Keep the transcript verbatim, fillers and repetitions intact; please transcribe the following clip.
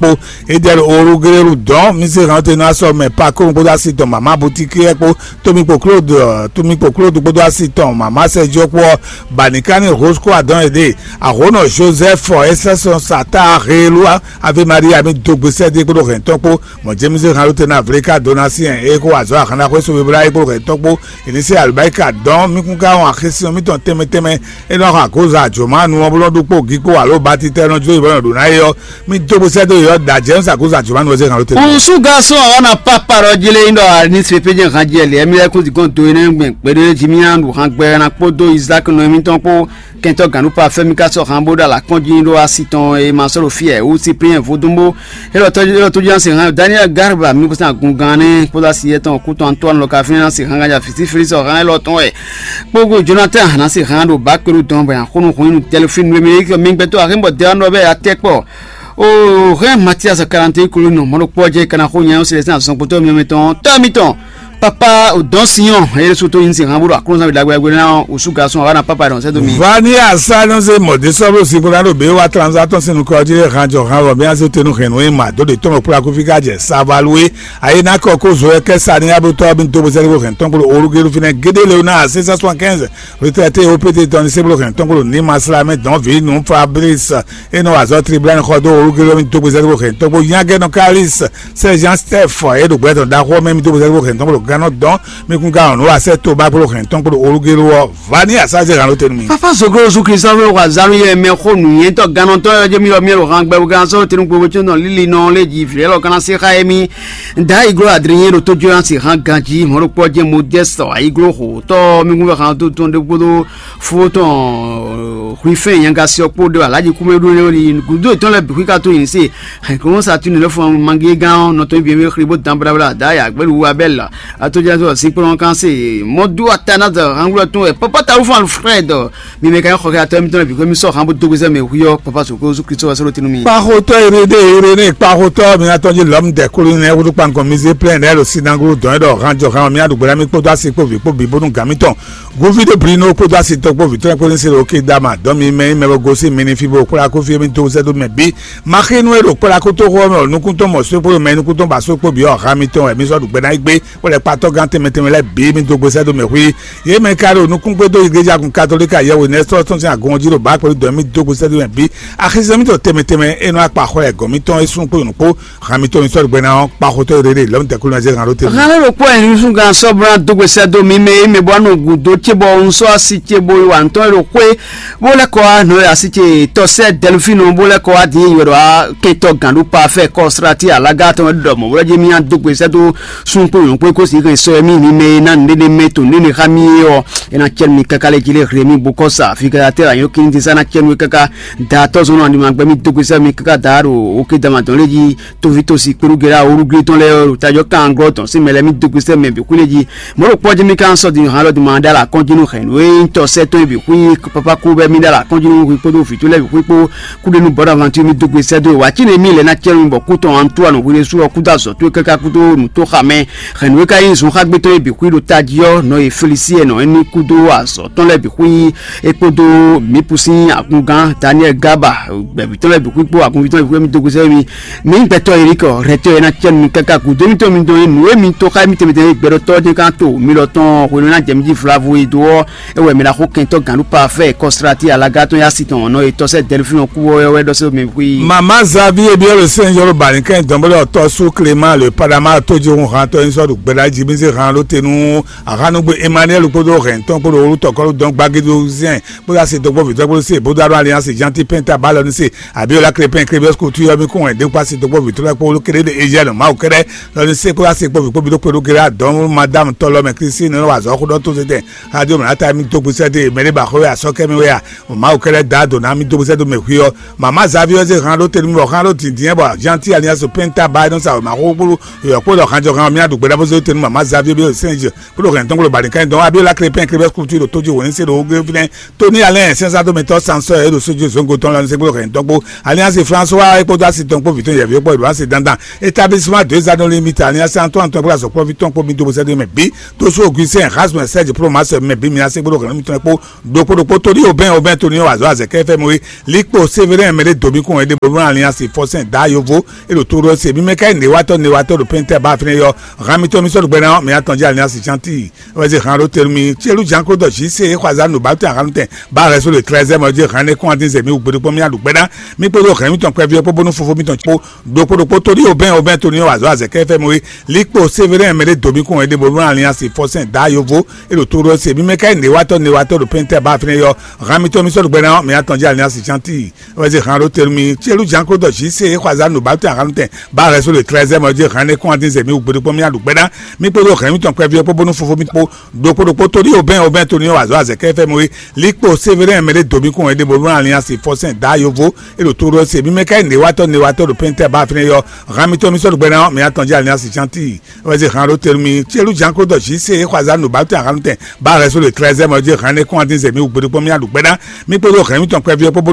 kpó. Edɛl Oruglélu dɔn mi se hàn te ná sɔ mɛ pa kó kpódó asi tɔn mama butikí kpó. Tómi kpó Claude, Tómi kpó Claude kpódó asi tɔn mama Sergio kpó. Banikani Rosco adɔn ede ahonɔ Joseph, Esɛsɔn Sata Helua, Ave Maria mi dogbe sɛde kpódó hɛntɔn kpó. Mɔ James Halo te na vle ka dona si hɛn e kó azɔ ahana xwé so bebla e kpódó hɛntɔn kpó. Ini se alubaika dɔn mi kún ka wɔn axesi mi tɔn tɛmɛ tɛmɛ. E nɔ xɔ agoza joma nu ɔ́ bó nɔ ɖu kpó gi kpó alo batitɛ nɔ jó ibɔ nɔ ɖo ná ye ɔ́. Mi dó bó sɛ́ dó yɔ da James agoza joma nu ɔ́ zé hàn ló tɛ́. Usu garçon awa na papa ɖɔ jele yin ɖɔ ani se pe jɛ han jɛ lɛ mi lɛ kó di gɔn do ene gbɛn gbeɖe jimi an ɖu han gbɛ na kpódó Isaac nɔ mi tɔn kpó kɛntɔ ganu pa fɛmi ka sɔ han bó ɖo ala kɔn jí ɖo asi tɔn e ma sɔ́ ɖo fiyɛ wú Cyprien vodúnbó. Elɔ tɔjú elɔ tɔjú an se han Daniel Garba mi kó sɛn agun gan ne kpódó asi yɛ tɔn kú tɔn Antoine lɔ ka fínɛ na se han ganja fisi fili sɔ han elɔ tɔn wɛ. Kpógó Jonathan na se han ɖo bá kpéɖu dɔn bɔ ya xónú hun inú tɛlifín nú mi mi gbɛtɔ ahémbɔ dɛ ɔnɔ bɛ ya tɛ kpɔ. O hɛn Matias Kalante kulu nɔ mɔɖo kpɔ jɛ kana xó nya sɛlɛ sɛn azɔn kpotɔ mi mi tɔn tɔ mi tɔn. Papa o dɔn sinyɔn eye so to yin se han bolo aklɔnsa bi dagbe dagbe na o su garçon awa na papa dɔn sɛ do mi. Vani asa nɔ se mɔde sɔblo si kpɔɖa ɖo be wa transa tɔn sinu kɔ ɔdi han jɔ han vɔ mi ase tenu hɛn nɔ ema do de tɔn kpla kofi ka jɛ savalue. Ayi na kɔ ko zo kɛ sa ni abotɔ bi do bozɛli ko hɛn tɔn kpolo orugelu finɛ gede leona six cent soixante-quinze. Retraité opété tɔn ni séblo hɛn tɔn kpolo ni masla mɛ dɔn vi nu Fabrice. E nɔ wa azɔ tribulani xɔ do orugelu mi do bozɛli ko hɛn tɔn kpolo nyagɛ nɔ kalis. Sɛ Jean Steph e ɖo gbɛ tɔn ɖaxɔ mɛ mi do bozɛli ko hɛn tɔn kpolo ganɔ dɔn. Mi kún ka ɔn nɔ wa sɛ to ba kpolo hɛn tɔn kpolo orugelu ɔ. Vani asaze hàn ló tenu mi. Papa Zoglo Zu Kristo fɛ wa zanu yɛ mɛ xo nǔnyɛtɔ gannɔtɔ yɔ jɛ mi yɔ mi yɔ han gbɛ gan sɔ tenu gbogbo tso nɔ lili nɔ le ji vlɛ lɔ kana se xa yɛ mi. Da iglo adrien ɖo tójú an si han ganji mɔɖokpɔ jɛ modeste ayiglo xo tɔ mi gun fɛ han tó tɔn ɖe kpódó fó tɔn hlifɛn yanga siɔ kpó ɖe alaji kúmɛ ɖó ne ni gudo tɔn lɛ bixi ka tó yin se. Hɛn kɔn sa tunu lɛ fɔ mangi gan nɔtɔ bi mi xli bó dan blabla da ya gbɛlu wa bɛ la. Ato jɛ sɔ si kplɔn kan se mɔ du atana da hanglo tun ɛ papa ta ufan Alfred. Mi mɛ ka xɔ kɛ atɔ mi tɔn bi ko mi sɔ han bo dogo sɛ mɛ hu yɔ papa so ko zu Kristo wa sɔrɔ tinu mi. Kpaxotɔ erede erene kpaxotɔ mi atɔ ji lɔm dɛ kolo ne wudu kpankɔ mi ze plɛn ne lo sinangolo dɔn dɔ han jɔ han mi aɖu gbɛɖa mi kpódó asi kpó vi kpó bi bónú gǎn mi tɔn. Govi ɖe bli nɔ kpódó asi tɔ kpó vi tɔn kpó ní se ɖo ké dama dɔn mi mɛ yi mɛ bɔ gosi mi ní fi bo kpla kó fi mi dó sɛ dó mɛ bi. Maxinu e ɖo kpla kó tó xɔ mɛ o nukúntɔn mɔ só kpó mɛ nukúntɔn ba só kpó bi ɔ ha mi tɔn wɛ mi sɔ ɖu gbɛɖa yi gbé. Wole kpatɔ́gán tɛnmɛ tɛnmɛ lɛ́ɛ bǐ mi dó gbesɛ dó mɛ xwí. Yě mɛ ka ɖo nukúngbé dó igleja kun katolíka yɛhwe nɛ́ sɔ́ tɔn sín agɔn jí ɖo bǎ kpɛɖú dɔ̌n mì dó gbesɛ dó mɛ bǐ. Axizɛ mítɔn tɛnmɛ tɛnmɛ e nɔ akpa xɔ lɛ gɔ̌n mítɔn é sún kpó nǔkpó. Han mitɔn mi sɔ́ ɖo gbɛ ná ɔ́, kpa xotɔ́ e ɖe ɖe lɔ̌mì tɛkúnú ɛ zé han ɖó te. Hɛn ló ɖokpó ɛ nusúngán sɔ́ bó ná dó gbesɛ dó mi mɛ e mɛ bó ná nɔ gǔdo ce bɔ un sɔ́ asi ce bo yi wa ntɔ́n e ɖo xwé bó lɛ́ kɔ wá nɔ asi ce tɔsɛ Dɛlufínu bó lɛ́ kɔ wá din yi wɛ ɖɔ wá kɛntɔ́ gǎn ɖó pa fɛ kɔ srati alaga tɔn ɖɔ mɔ̌ wlɛ́ jɛ mì nya dó gbe sɛ́ dó sun kpó nyɔ̌ kpó kó si hɛn sɔ mì mi mɛ e ná nǔɖé mɛ to nǔɖé xá mì é ɔ́, é ná cɛ mì káká lɛ́ jí lé hle mì bó kɔ sa afi káká tɛ anyɔ kíni dín sá ná cɛ nú é káká da tɔ́ zɔn nɔ animagbɛ mì dó gbe sɛ́ mì káká da ɖo oké dama dɔn lé jí toví tosi kpéɖú gɛɖá orúgbé tɔn lɛ́ɛ ɖo tajɔ kan glɔ́ tɔn sín mɛ lɛ́ɛ mì dó gbe sɛ́ mɛ bǐ xwlé jí. Mɔ̌ ɖo kpɔ́ jí mì ka sɔ́ din hǎn lɔ din ma ɖó alɔ akɔ́njínú hɛ̌nnu e nyí tɔ sɛ́ tɔn e bǐ xwí, papa kú bɛ́ mì ɖó alɔ akɔ́njínú hwi kpódó vǐ towe lɛ́ɛ bǐ xwí kpó kúɖénú bɔ̌ ɖo avantu mì dó gbe sɛ́ dó e wǎ cí nɛ mì lɛ́ ná cɛ́ nú bɔ kú tɔn Antoine hwi ɖésú ɔ́ kúdó azɔ̌ towe káká kúdó nǔtóxamɛ hɛ̌nnu e ka nyí zunxágbé tɔn e bǐ xwí ɖo tají ɔ́ nɔ e Felisí ɛ nɔ é ní kúdó azɔ̌ tɔn lɛ́ɛ bǐ xwí é kpódó mǐ pú sín akungán Daniɛ́li Gaba gbɛ̌ví tɔn lɛ́ɛ bǐ xwí kpó agunví tɔn lɛ́ɛ bǐ xwí mì dó gbe sɛ́ mì. Mǐ gbɛtɔ́ yě ɖi kɔ, hɛ̌tɔ́ e ná cɛ nú mi káká gǔdo mítɔn mi dɔn e nǔ e mi to xá mì tɛnmɛ tɛnmɛ gbɛɖɔtɔ́ jɛ́n ká to mi lɔ tɔn hwenu ná jɛ mi jí vlavo e dó ɔ́, é wɛ mi ná xo kɛntɔ́ gǎnɖu parfait kɔsrati alaga tɔn yá si tɔn nɔ e tɔ́sɛ Dɛlifín ɔ́ kú ɔ́ wɛ ɖɔ sɛ́ mɛ xwí. Mama Xavier Biɔle Saint Jean Balinkɛn dɔnbɔlɔ tɔ́ sú Clément le Panama tójihun hantɔ e sɔ́ ɖo gbɛɖá jí mi zé han ɖó te nú ahanugbe Emmanuel kpódó hɛn tɔn kpódó olú tɔkɔlú dɔn gbagédó zɛn kpódó asi dɔgbɔ́ vǐtɔ́ kpódó se bódó alɔ alliance Jean Ti Penta ba lɔ ní se Abiola Crépin Crébios Couture yɔ mi kún wɛn dé kpasi dó kpɔ́ vǐtrɔ́ kpó kéré ɖe Ézíɛ́ nɔ Mawu kɛ́ɖɛ́ lɔ ní sé kpó wá sé kpó vǐ kpó bǐ ɖó kpé ɖó kéré adɔ̌ madame tɔlɔ mɛ Christine nɔ wa azɔ̌ xó ɖɔ tó zétɛn. Radio mɛ ata mi dó gbèsè dé mɛ ɖé ba xó wɛ asɔ́ kɛ mi wɛ a Mawu kɛ́ɖɛ́ da dǒ ná mi dó gbèsè dó mɛ hwi ɔ́. Mama Xavier ɔ́ zé han ɖó tenu mi bɔ han ɖó dǐndín bɔ Jean Ti Alliance Penta ba nɔ sa wɛ ma xó kpó yɔ kpó ɖɔ han jɔ han mi aɖu gbɛɖá bó zé tenu Mama Xavier bí Saint Jean kpó ɖo hɛn tɔn kpó ɖo Balikan dɔn Abiola Crépin Crébios Couture ɖo tó jí wǒ ní sé ɖo wó gé fínɛ́. Tony Alain sɛnsadomɛtɔ sansɔ e ɖo sójú zongo tɔn lɔ ní sɛgblo hɛn tɔn kpó Alliance François e kpódó asi tɔn kpó vǐ tɔn yɛvǐ kpó Edouard Sedanda établissement deux anneaux limite Alliance Antoine tɔn kpó azɔkplɔ́ví tɔn kpó mi dó bó sɛ́dó mɛ bí tó sú Augustin Erasme Serge Promas mɛ bí mi asé gbódò hɛn mitɔn kpó ɖokpó ɖokpó Tony Aubin Aubin Antonio wazɔ azɛkɛ fɛ mo likpo severe mɛ ɖe domi kun ɛɖe bolo aliansi fɔsɛn da yovo elo toro se mi mɛ ka ne watɔ ne watɔ ɖo pɛntɛ ba fɛnɛ yɔ hami tɔ mi sɔ ɖo gbɛna mi atɔn jɛ aliansi chanti wɛze han ɖo tenu mi tielu jan klo dɔ zi se xɔ azan no ba tɛ ahan tɛ ba rɛ so le trɛzɛ mɔ je han ne kɔn adin zɛ mi wugbe ɖokpɔ mi aɖu gbɛna mi kpo ɖo hɛn mi tɔn kpɛvi kpo bonu fofo mi tɔn kpo ɖokpo ɖokpo tori obɛn obɛn toni wazɔ azɛkɛ fɛ mo likpo severe mɛ ɖe domi kun ɛɖe bolo aliansi fɔsɛn da yovo elo toro se mi mɛ ka ne watɔ ne watɔ ɖo pɛntɛ ba fɛnɛ yɔ hami tɔ mi sɔ ɖo gbɛna mi atɔn jɛ aliansi chanti wɛze han ɖo tenu mi tielu jan klo dɔ zi se xɔ azan no ba tɛ ahan tɛ ba rɛ so le trɛzɛ mɔ je han ne kɔn adin zɛ mi wugbe ɖokpɔ mi aɖu gbɛna mi kpo ɖo hɛn mi tɔn kpɛvi kpo bonu fofo mi kpo ɖokpo ɖokpo tori obɛn obɛn toni wazɔ azɛkɛ fɛ mo likpo severe mɛ ɖe domi kun ɛɖe bolo aliansi fɔsɛn da yovo elo toro se mi mɛ ka ne watɔ ne watɔ ɖo pɛntɛ ba fɛnɛ yɔ hami tɔ mi sɔ ɖo gbɛna mi atɔn jɛ aliansi chanti wɛze han ɖo tenu mi tielu jan klo dɔ zi se xɔ azan no ba tɛ ahan tɛ ba rɛ so le trɛzɛ mɔ je han ne kɔn adin zɛ mi wugbe ɖokpɔ mi aɖu gbɛna mi kpo ɖo hɛn mi tɔn kpɛvi kpo bonu